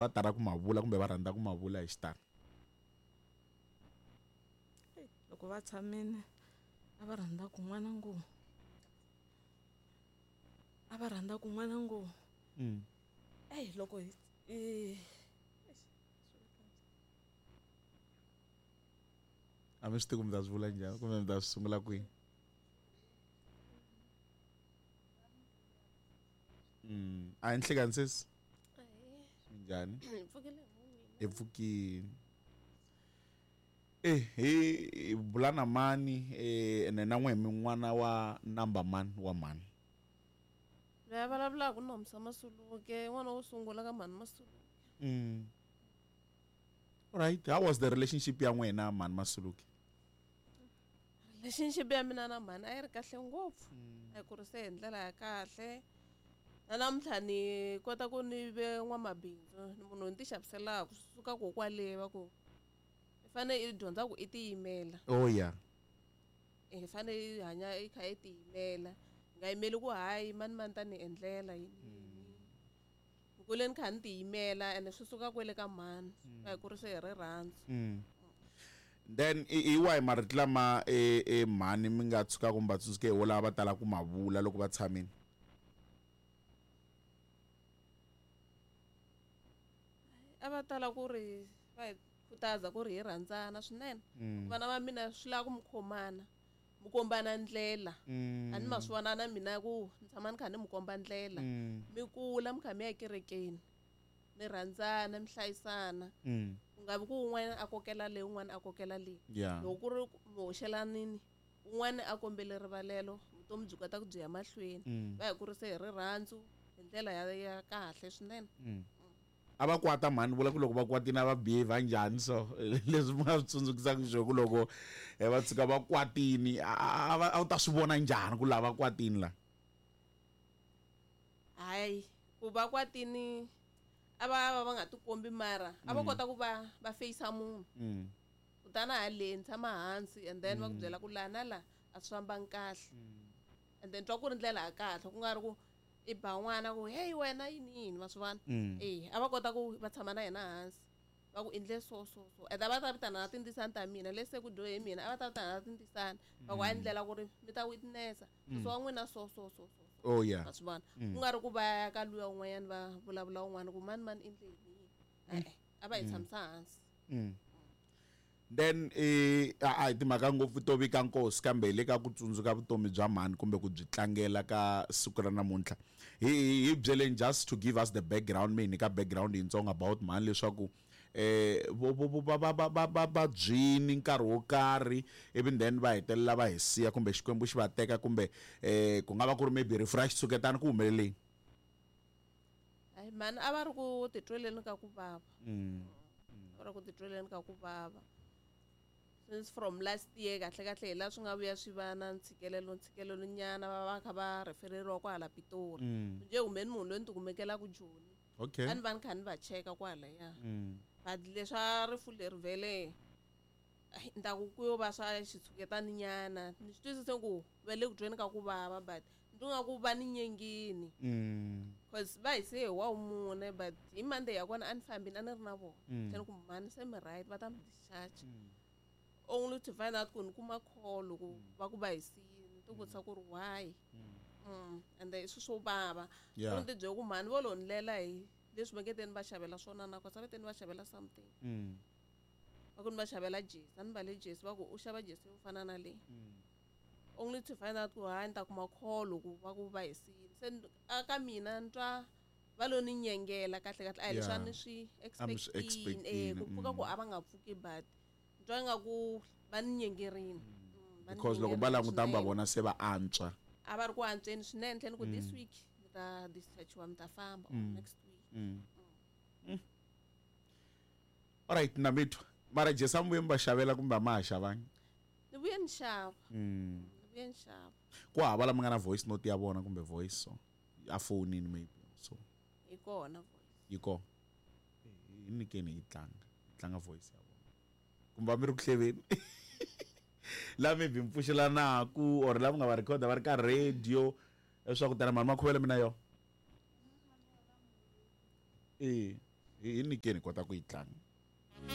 Va tala ku ma vula kumbe va rhandza ku ma vula hi xitalo? Loko va tshamile a va rhandza ku n'wana ngo a va rhandza ku n'wana ngo eyi loko hi A mi swi tivi ku mi ta swi vula njhani kumbe mi ta swi sungula kwihi? A hi nhlikani sesi. Minjhani? Hi pfukile hi pfukile. Eh hi bula na mani eh ene na n'we mi n'wana wa number mani wa mani? Loyi a vulavulaka Nomsa Masuluke, n'wana wo sungula ka mhani Masuluke. Alright, how was the relationship ya n'wina mhani Masuluke? Relationship ya mina na mhani a yi ri kahle ngopfu. A yi kurise hi ndlela ya kahle. Na namuntlha ni kota ku ni ve n'wamabindzu, ni munhu ni ti xaviselaka swi suka ko kwale va ku i fane i dyondza ku i tiyimela. Oh yeah. I fane i hanya i kha i tiyimela. I nga yimeli ku hayi mani mani ta ni endlela yini yini. Ni kule ni kha ni tiyimela ene swi suka kwele ka mhani. Va hi kurise hi rirhandzu. Then i wahi marito lama e, e mhani mi nga tshukaka mi va tsundzuke hi wolawa va talaka ku ma vula loko va tshamile? A va tala ku ri va hi khutaza ku ri hi rhandzana swinene. Vana va mina swi lava ku mi khomana, mi kombana ndlela. A ni ma swi vona na mina ku ni tshama ni kha ni mi komba ndlela. Mi kula mi kha mi ya ekerekeni, mi rhandzana, mi hlayisana. Ku nga vi ku un'wana a kokela le un'wana a kokela le. Loko ku ri mi hoxelanini, un'wana a kombele rivalelo, vutomi byi kota ku byi ya mahlweni. Va hi kurise hi rirhandzu hi ndlela ya ya kahle swinene. A va kwata mhani vula ku loko va kwatile a va behave njhani so leswi mi nga swi tsundzukisaka xiswona ku loko va tshuka va kwatini a a wu ta swi vona njhani ku lava kwatini la? Hayi ku va kwatini a va va va nga tikombi mara a va kota ku va va feyisa munhu. Kutani haleni tshama hansi and then va ku byela ku laha na laha a swi fambangi kahle. And then twa ku ri ndlela ya kahle ku nga ri ku i ba n'wana ku hey wena yini yini ma swi vona. E a va kota ku va tshama na yena hansi va ku endle so so so and a va ta vitana na tindzisana ta mina lesi se ku dyohe mina a va ta vitana na tindzisana va ku a ndlela ku ri mi ta witnessa so wa n'wina so so so so. Oh yeah. Ma swi vona. Ku nga ri ku va ya ka luya un'wanyana va vulavula un'wana ku mani mani endle yini yini. E-e a va hi tshamisa hansi. Then i a hi timhaka ngopfu to vika nkosi kambe hi le ka ku tsundzuka vutomi bya mhani kumbe ku byi tlangela ka siku ra namuntlha. Hi hi byeleni just to give us the background mi hi nyika background yintsongo about mhani leswaku vo vo va va va va va vabyini nkarhi wo karhi ivi then va hetelela va hi siya kumbe Xikwembu xi va teka kumbe ku nga va ku ri maybe rifu ra xitshuketana ku humelele yini? Hayi mhani a va ri ku titweleni ka ku vava. Va ri ku titweleni ka ku vava. Since from last year kahle kahle hi laha swi nga vuya swi va na ntshikelelo ntshikelelo nyana va va kha va refereriwa kwahala Pitori. Njhe humeni munhu loyi ni ti kumekelaka Joni. Okay. A ni va ni kha ni va cheka kwalaya. But leswa rifu leri vhele ni ta ku ku yo va swa xitshuketani nyana. Ni swi twisise ku va le ku tweni ka ku vava but ni twa nga ku va ni nyengini. Cause va hi siye hi wa mune but hi Monday ya kona a ni fambini a ni ri na vona. Se ni ku mhani se mi right va ta mi discharge. Only to find out ku ni kuma call ku va ku va hi siyini. Ni ti vutisa ku ri why. And then i swilo swo vava. Ni ti byela ku mhani vo lo ni lela hi leswi va nge teni va xavela swona na cause a va teni va xavela something. Va ku ni va xavela jesi, a ni mbale jesi va ku u xava jesi yo fana na leyi. Only to find out ku hayi ni ta kuma call ku va ku va hi siyini. Se a ka mina ni twa va lo ni nyengela kahle kahle a hi leswi a ni swi expect-ini. Eh ku pfuka ku a va nga pfuki but ni twa ingaku va ni nyengerini. Because loko va languta va vona se va antswa. A va ri ku antsweni swinene tlhela ni ku this week mi ta discharge-iwa mi ta famba or next week. Alright na mi twa. Mara jesi a mi vuye mi va xavela kumbe a ma ha xavangi? Ni vuye ni xava. Ni vuye ni xava. Ku hava la mi nga na voice note ya vona kumbe voice so a fonini maybe so. Yi kona voice. Yi kona. Hi nyikeni hi tlanga. Hi tlanga voice ya vona. Kumbe a mi ri ku hleveni. La maybe mi pfuxelanaku or la mi nga va record va ri ka radio leswaku tana mhani Makhuvele mina yo. Eh. Hi nyikeni hi kota ku yi tlanga.